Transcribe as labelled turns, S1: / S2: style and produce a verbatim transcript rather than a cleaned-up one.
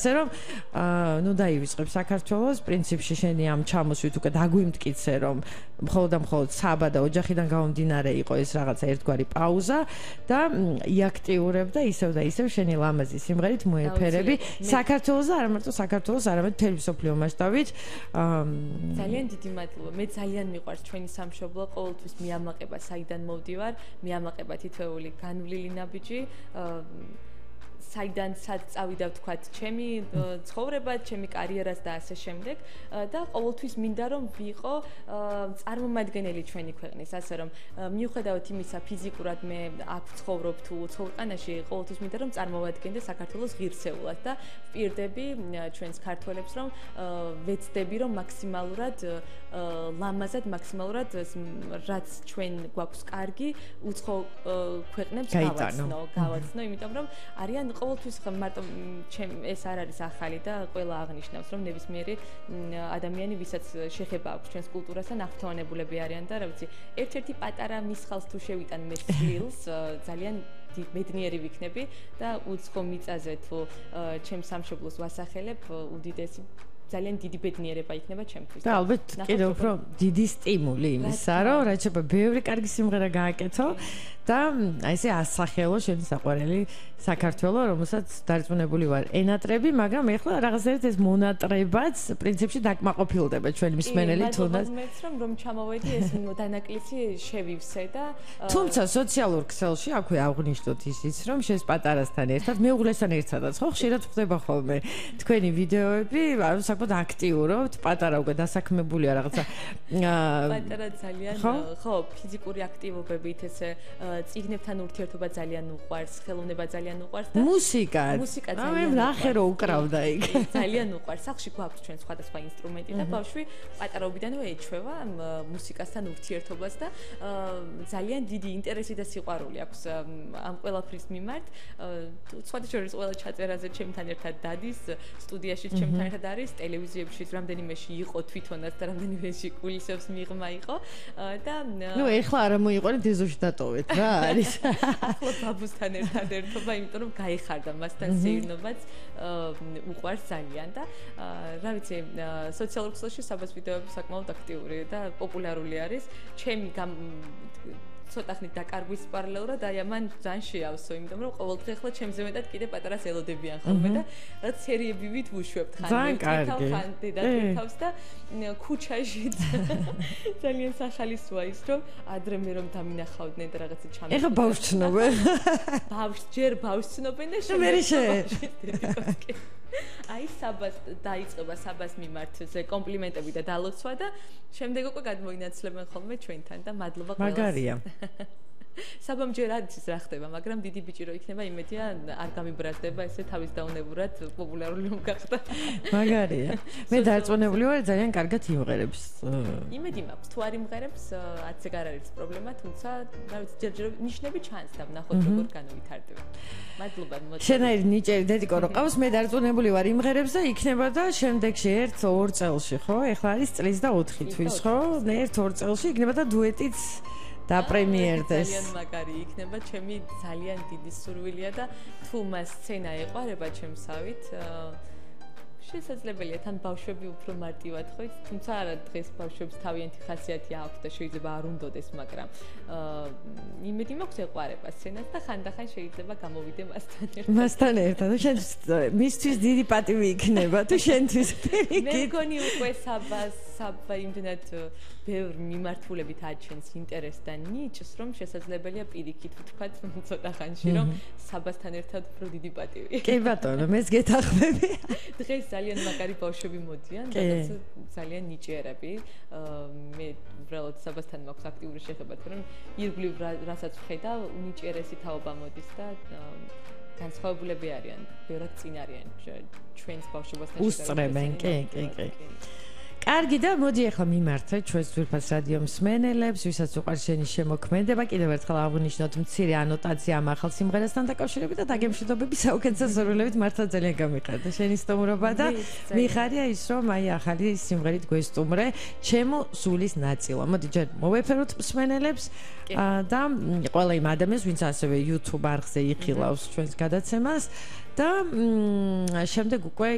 S1: ასე რომ ნუ დაივიწყებ საქართველოს პრინციპში შენი ამ ჩამოსვით უკვე დაგვიმტკიცე რომ მხოლოდ და მხოლოდ საბა და ოჯახიდან გამომდინარე იყო ეს რაღაცა ერთგვარი პაუზა და იაქტიურებ და ისევ და ისევ შენი ლამაზი სიმღერით მოეფერები საქართველოს და არა მარტო საქართველოს არამედ მთელი მსოფლიო მასშტაბით
S2: ძალიან დიდი მადლობა მე ძალიან მიყვარს ჩვენი სამშობლო ყოველთვის მიამაყება საიდან მოვდივარ მიამაყება თითოეული განვლილი ნაბიჯი საიდან სად წავიდა ვთქვათ ჩემი ცხოვრება, ჩემი კარიერას და ასე შემდეგ და ყოველთვის მინდა რომ ვიყო წარმომადგენელი ჩვენი ქვეყნის, ასე რომ მიუხედავად იმისა ფიზიკურად მე აქ ვცხოვრობ თუ უცხოეთში, ყოველთვის მინდა რომ წარმოვადგენდე საქართველოს ღირსეულად და ვპირდები ჩვენს ქართველებს რომ ვეცდები რომ მაქსიმალურად ლამაზად, მაქსიმალურად რაც ჩვენ გვაქვს კარგი, უცხო ქვეყნებს გავაცნო, გავაცნო, იმიტომ რომ არიან ყოველთვის მარტო ეს არ არის ახალი და ყველა აღნიშნავს რომ ნებისმიერი ადამიანი ვისაც შეხება აქვს ჩვენს კულტურასთან აღფრთოვანებულები არიან და რა ვიცი ერთ-ერთი პატარა მისხალს თუ შევიტან მე წილს ძალიან ბედნიერი ვიქნები და უცხო მიწაზე თუ ჩემს სამშობლოს ვასახელებ უდიდესი ძალიან დიდი ბედნიერება იქნება ჩემთვის.
S1: და ალბათ კიდევ უფრო დიდი სტიმული იმისა, რომ რაც შეიძლება ბევრი კარგი სიმღერა გააკეთო და აი ესე ასახელო შენი საყვარელი საქართველო, რომელსაც დარწმუნებული ვარ, ენატრები, მაგრამ ეხლა რაღაცნაირად ეს მონატრებაც პრინციპში დაკმაყოფილდება ჩვენი მსმენელი თუნდაც.
S2: მეც რომ რომ ჩამოვედი ეს დანაკლისი შევივსე და
S1: თუმცა სოციალურ ქსელში აქვე აღნიშნოთ ისიც, რომ შენს პატარასთან ერთად მეუღლესთან ერთადაც ხო ხშირად ხდება ხოლმე თქვენი ვიდეოები, ანუ საკმაოდ აქტიურობთ, პატარა უკვე დასაქმებულია რაღაცა.
S2: პატარა ძალიან ხო, ფიზიკური აქტივობებით ესე წიგნებთან ურთიერთობა ძალიან უყვარს, ხელოვნება ძალიან უყვარს და
S1: მუსიკა.
S2: მუსიკა
S1: ძალიან ნახე რომ უკრავდა იქ.
S2: ძალიან უყვარს. სახში გვაქვს ჩვენ სხვადასხვა ინსტრუმენტი და ბავშვი პატარობიდანვე ეჩვევა მუსიკასთან ურთიერთობას და ძალიან დიდი ინტერესი და სიყვარული აქვს ამ ყველაფრის მიმართ. სხვადასხვა შორის ყველა ჩაწერაზე ჩემთან ერთად დადის, სტუდიაში ჩემთან ერთად არის, ტელევიზიებში რამდენიმეში იყო თვითონაც და რამდენიმეში კულისებს მიღმა იყო და
S1: ნუ ეხლა არ მოიყვანეთ ეზოში დატოვეთ რა არის.
S2: ახლა ბაბუსთან ერთად ერთობა, იმიტომ რომ გაიხარდა მასთან სეირნობაც უყვარს ძალიან და რა ვიცი, სოციალურ ქსელში საბას ვიდეოები საკმაოდ აქტიური და პოპულარული არის. ჩემი ცოტა ხნით დაკარგვის პარალელურად აი ამან ძალიან შეავსო, იმიტომ რომ ყოველდღე ახლა ჩემზე მეტად კიდე პატარას ელოდებიან ხოლმე და რაც სერიები ვით ვუშვებთ ხან ხან დედათავს და ქუჩაშიც ძალიან სახალისოა ის რომ ადრე მე რომ დამინახავდნენ და რაღაცა ჩამი
S1: ეხა ბავშვს ცნობენ
S2: ბავშვს ჯერ ბავშვს ცნობენ და
S1: შემდეგ
S2: აი საბას დაიწყება საბას მიმართ ზე კომპლიმენტები და დალოცვა და შემდეგ უკვე გადმოინაცლებენ ხოლმე ჩვენთან და მადლობა ყველას.
S1: მაგარია.
S2: საბამ ჯერ არის ის რა ხდება, მაგრამ დიდი ბიჭი რო იქნება, იმედია არ გამიბრაზდება ესე თავის დაუნებურად პოპულარული რომ გახდა.
S1: მაგარია. მე დარწმუნებული ვარ, ძალიან კარგად იმღერებს.
S2: იმედი მაქვს, თუ არ იმღერებს, ათზე არ არის პრობლემა, თუმცა რა ვიცი, ჯერჯერ ნიშნები ჩანს და ვნახოთ როგორ განვითარდება. მადლობა.
S1: შენაირი ნიჭერი დედიკო რო ყავს, მე დარწმუნებული ვარ, იმღერებს და იქნება და შემდეგში ერთ ორ წელში, ხო? ეხლა არის წლის და ოთხი თვის, ხო? ერთ ორ წელში იქნება და დუეტიც და პრემიერდეს.
S2: ძალიან მაგარი იქნება, ჩემი ძალიან დიდი სურვილია და თუ მას სცენა ეყარება ჩემსავით, შესაძლებელია თან ბავშვები უფრო მარტივად ხო იცით, თუმცა არა დღეს ბავშვებს თავიანთი ხასიათი აქვს და შეიძლება არ უნდოდეს, მაგრამ იმედი მაქვს ეყარება სცენას და ხანდახან შეიძლება გამოვიდე მასთან ერთად.
S1: მასთან ერთად, შენ მისთვის დიდი პატივი იქნება თუ შენთვის.
S2: მე მგონი უკვე საბას საბა იმდენად ბევრ მიმართულებით აჩენს ინტერესს და ნიჭს, რომ შესაძლებელია პირიქით ვთქვათ ცოტა ხანში, რომ საბასთან ერთად უფრო დიდი პატივი.
S1: კი ბატონო, მეც გეთანხმები.
S2: დღეს ძალიან მაგარი ბავშვები მოდიან და ძალიან ნიჭიერები. მე უბრალოდ საბასთან მაქვს აქტიური შეხება, რომ ირგვლივ რასაც ვხედავ, უნიჭიერესი თაობა მოდის და განსხვავებულები არიან, ბევრად წინ არიან ჩვენს ბავშვობასთან შედარებით.
S1: უსწრებენ, კი, კი, კი. კარგი და მოდი ახლა მიმართეთ ჩვენს ძვირფას რადიო მსმენელებს, ვისაც უყვარს შენი შემოქმედება, კიდევ ერთხელ აღვნიშნოთ მცირე ანოტაცია ამ ახალ სიმღერასთან დაკავშირებით და დაგემშვიდობები საუკეთესო სურვილებით, მართლა ძალიან გამიხარდა შენი სტუმრობა და მიხარია ის, რომ აი ახალი სიმღერით გვესტუმრე ჩემო სულის ნაწილა. მოდი ჯერ მოვეფეროთ მსმენელებს და ყველა იმ ადამიანს, ვინც ასევე YouTube არხზე იხილავს ჩვენს გადაცემას და შემდეგ უკვე